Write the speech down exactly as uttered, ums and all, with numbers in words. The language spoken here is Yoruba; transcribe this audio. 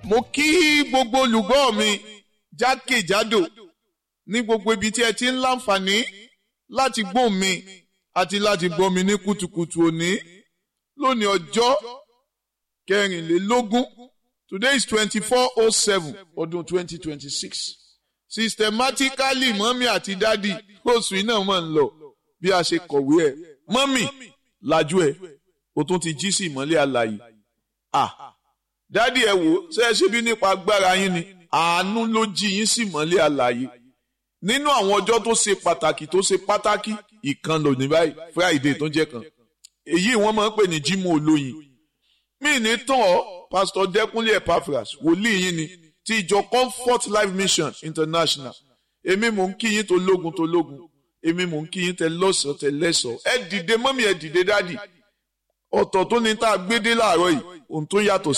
Mo kí gbogbo olùgbọ́ mi jákèjádò ní gbogbo ibi tí ẹ ti ń láǹfààní láti gbọ́ mi àti láti gbọ́ mi ní kùtùkùtù òní lónìí, ọjọ́ kẹrìnlélógún. Today is twenty four oh seven, ọdún twenty twenty six. Systematically, mummy àti daddy, oṣù iná mọ̀ ń lọ bí a ṣe kọ̀wé ẹ̀. Mummy, lajú ẹ̀, o tún ti jí sí ìmọ́lẹ̀ alààyè. Ah, daddy, ẹ wò ṣe é ṣe bí nípa agbára yín ni? Àánú ló jí yín sí ìmọ́lẹ̀ alààyè. Nínú àwọn ọjọ́ tó ṣe pàtàkì, tó ṣe pàtàkì, ìkan lò ní báyìí, Friday tó jẹ́ kan. Èyí wọ́n máa ń pè ní Jímọ̀ Olóyin. Mí ní tán ọ́, Pásítọ̀ Dẹ́kúnlé Epaphras, wòlíì yín ni, ti ìjọ Comfort Life Mission International. Èmi mò ń kí yín tó lógun tó lógun, èmi mò ń kí yín tẹ lọ́sọ̀ọ́ tẹ lẹ́sọ̀ọ́. Ẹ dìde mummy, ẹ dìde daddy. Ọ̀tọ̀ tó ní tá a gbé dé láàárọ̀ yìí, ohun tó yàtọ̀ sí.